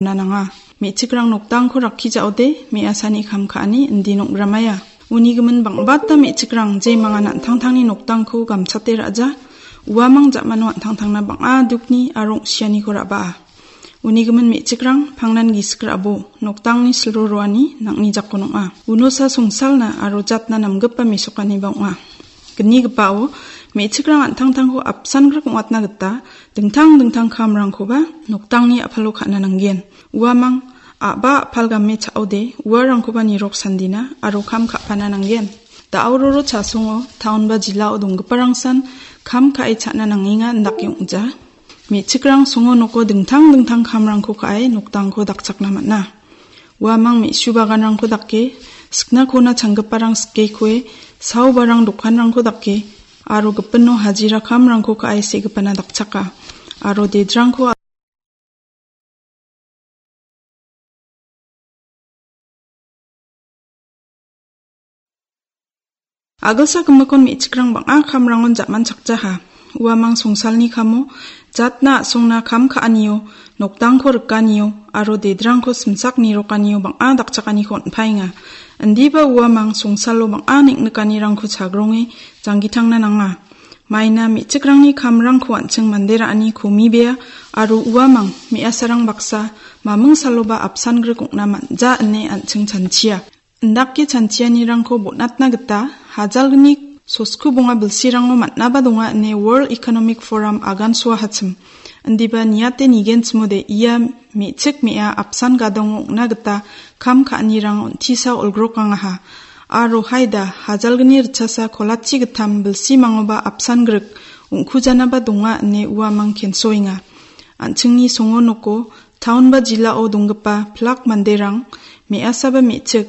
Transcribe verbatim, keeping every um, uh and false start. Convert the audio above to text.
nanga. Me·chikrang noktangko rakkijaode me·asani kam ka·ani indi nokramaia. Uni gimin bang·bata me·chikrang jemangan an·tangtangni noktangko gamchate ra·ja. Uamang ja·mano an·tangtangna bang·a dukni aro ong·sianiko ra·baa. Uni gimin me·chikrang pangnan gisik ra·bo, noktangni silro roani nang·ni jakon ong·a. Unosa songsalna aro jatna namgipa mesokaniba ong·a. Gnigipao me·chikrang an·tangtangko apsan grik ong·atna gita dingtang dingtang kamrangkoba noktangni a·palo ka·na nanggen. Uamang a·ba a·pal game cha·ode uarangkoba nirok sandina aro kam ka·pana nanggen. Da·aororo chasongo taon ba jilao donggiparangsan kam ka·e cha·na nangenga indake ong·ja. Me·chikrang songo noko dingtang dingtang kamrangko ka·e noktangko dakchakna man·a. Uamang me·su baganrangko dake, siknakona changgiparang sikekoe, saobarang dokanrangko dake, aro gipino hajira kamrangko ka·e segipana dakchaka. Aro dedrangko Agilsa gimikon me·chikrang bang·a kamrangon ja·manchakjaha. Uamang songsalni kamo, jatna a·songna kam ka·anio, noktangko rikanio, aro dedrangko simsak nirokanio bang·a dakchakaniko on·paenga. Indiba uamang songsalo bang·a neng·nikanirangko chagronge janggitangna nanga. Maina me·chikrangni kamrangko an·ching mande ra·ani komibea aro uamang me·asarang baksa maming saloba apsan grik ong·na man·ja ine an·ching chanchia. Indake chanchianirangko bon·atna gita hajalgni sosku bonga bilsirango man·aba donga ine World Economic Forum agansoahachim. Indiba niate nigenchimode ia me·chik me·a apsan gadongo ong·na gita kam ka·anirang on·tisa olgrokangaha. Aro haida hajalgni ritchasa kolachi gittam bilsimangoba apsan grik ong·kujanaba donga ine uamang kensoenga. An·chingni songo noko taon ba jilao donggipa pilak manderang me·asaba me·chik